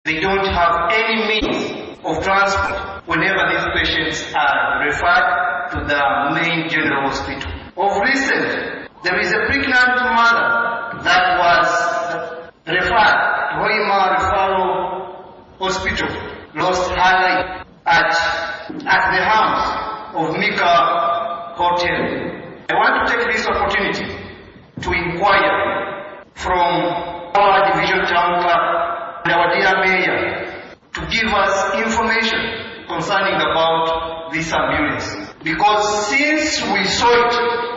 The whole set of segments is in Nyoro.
They don't have any means of transport whenever these patients are referred to the main general hospital. Of recent, there is a pregnant mother that was referred to Hoima Referral Hospital, lost her life at the hands of Mika Hotel. I want to take this opportunity to inquire from our division town clerk and our dear mayor to give us information concerning about this ambulance. Because since we saw it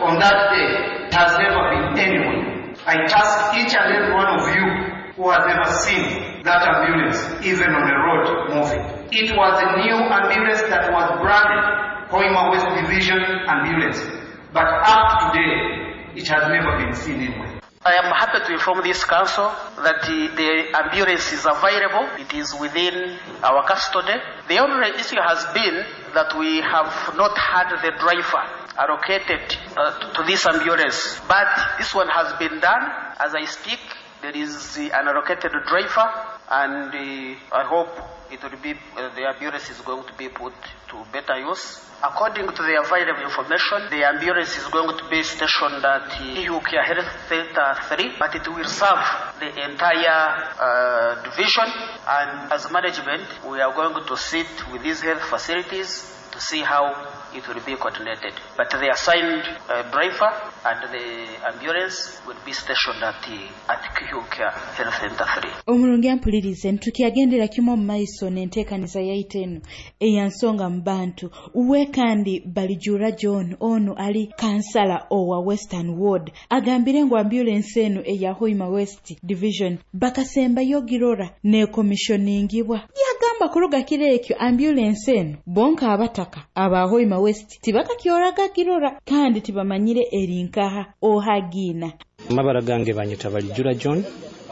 on that day, it has never been anywhere. I task each and every one of you who has ever seen that ambulance, even on the road moving. It was a new ambulance that was branded Hoima West Division Ambulance. But up to today, it has never been seen anywhere. I am happy to inform this council that the ambulance is available. It is within our custody. The only issue has been that we have not had the driver allocated to this ambulance. But this one has been done. As I speak, there is an allocated driver, and I hope it will be the ambulance is going to be put to better use. According to the available information, the ambulance is going to be stationed at UK Health Center 3, but it will serve the entire division. And as management, we are going to sit with these health facilities to see how it will be coordinated. But the assigned driver and the ambulance will be stationed at QK Health Center 3. Omurungi ampulirize, ntukyagendera kimu omu maiso n'enteekaniza yaitu eno eya Nsonga mu Bantu. We kandi Balijura John, onu ali kansala owa Western Ward, agambire ngu ambulensi enu eya Hoima West Division bakasembayo girora nekomishoningibwa. Yagamba kuruga kiro ekyo ambulensi enu bonka abataka aba Hoima West tibakakyoraga girora kandi tibamanyire erinkaha ohagiina. Amabara gange banyeta Balijura John.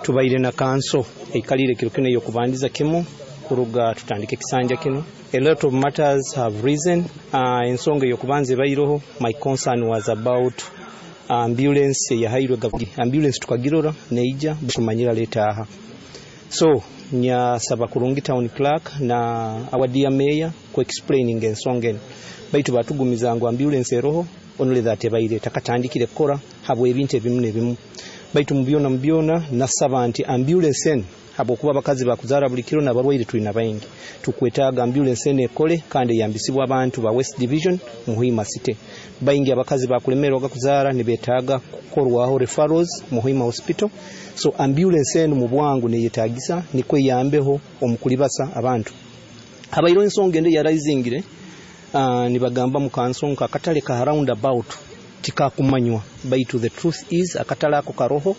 Tubaire na kanso eikalire kiro kino eyokubandiza kimu kuruga tutandike ekisanja kino. A lot of matters have risen. Ensonga eyokubanza ebairoho, my concern was about ambulance eyahairwe gavumenti. Ambulance tukagirora neija, tumanyira leta aha. So nyasaba kurungi town clerk na our dear mayor ku explaining ensonga eno, baitu batugumiza ngu ambulance eroho, only that ebaire takatandikire kukora habwe ebintu ebimu nebimu. Baitu mubyona mubyona nasaba nti ambulance eno, habwokuba abakazi bakuzaara buli kiro n'abarwaire tulina baingi, tukwetaaga ambulance eno ekole kandi eyambisibwa abantu ba West Division mu Hoima City. Baingi abakazi bakulemerwaga kuzaara, nibetaaga kukorwaho referrals mu Hoima Hospital. So ambulance eno mu bwangu neyetagisa nikwo eyambeho omu kulibasa abantu. Habairo ensonga ende yaraizingire, nibagamba mu kanso nka akatale ka roundabout tikakumanywa, baitu the truth is akatale ako karoho.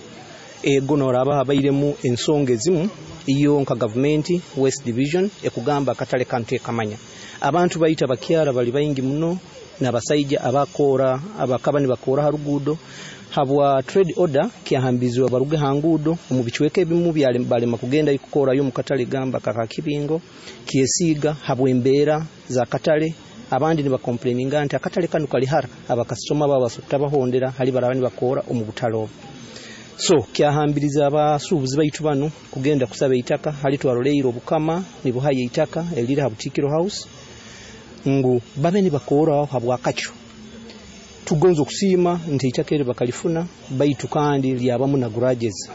Ego noraba habairemu ensonga ezimu, iyo nka gavumenti West Division ekugamba akatale kanu tekamanya. Abantu baita bakyara bali baingi muno n'abasaija abakora abakaba nibakora ha ruguudo. Habwa trade order kyahambizibwa baruge ha nguudo omu bicweka ebimu balema kugenda kukorayo mu katale gamba kaka Kibingo, Kyesiiga, habw'embeera za katale. Abandi nibakomplaininga nti akatale kanu kali hara, abakasitoma babo basobora hali baraba nibakora omu butale obu. So kyahambiriza abasuubuzi baitu banu kugenda kusaba eitaka hali twaroleire obukama nibuhayo eitaka eriri ha Butikiro House ngu babe nibakoraho habwakakyo. Tugonza okusiima nti eitaka eri bakalifuna, baitu kandi lyabamu na garages.